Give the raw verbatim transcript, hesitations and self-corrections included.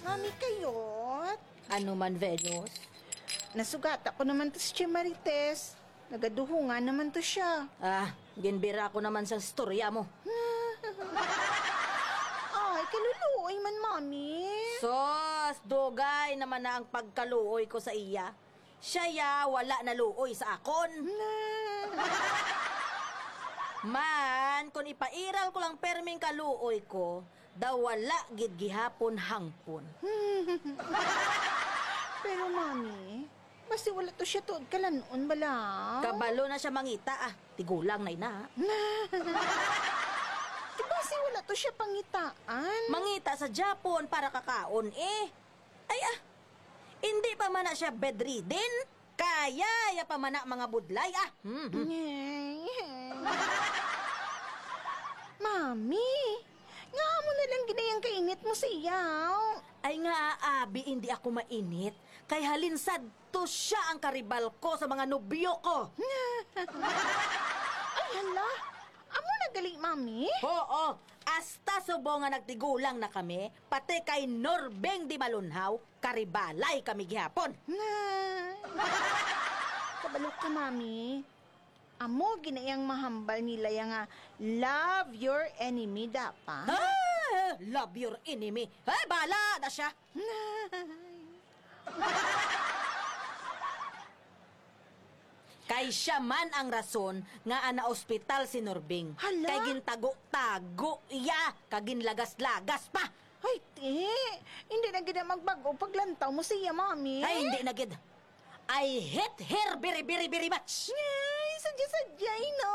Mami, kayot. Ano man, Venus? Nasugata ko naman to si Tia Marites. Nagaduhungan naman to siya. Ah, ginbira ko naman sa storya mo. Ay, kaluluoy man, Mami. Sus, dugay naman na ang pagkaluoy ko sa iya. Siya ya, wala naluoy sa akon. Man, kung ipairal ko lang perming kaluoy ko, daw wala gid gihapon hangpon. Pero, Mami, basi wala to siya tuod kalan-on bala. Kabalo na siya mangita, ah. Tigulang na ina. Di basi wala to siya pangitaan. Mangita sa Japon para kakaon, eh. Ay, ah. Hindi pa man na siya bedridden. Kaya ya pa man na mga budlay, ah. Hmm, hmm. Mami, nga mo na lang ginayang kainit mo siya. Ay nga, abi, hindi ako mainit. Kay halin sadto siya ang karibal ko sa mga nobyo ko. Ay, hala. Amo na gali, Mami? Oo. Hasta subong nga nagtigulang na kami, pati kay Norbeng Di Malunhaw, karibalay kami gihapon. Kabalo ka, Mami. Amo ginayang mahambal nila ya nga love your enemy, dapat. Ah, love your enemy. Ay, bala na siya. Kay siya man ang rason nga naospital si Norbing. Hala? Kay gintago-tago iya, kag ginlagas-lagas pa. Ay, ti, hindi na gid na magbag-o paglantaw mo siya, Mami. Ay, hindi na gid. I hate her very, very, very much. Ay, sadya-sadya, no?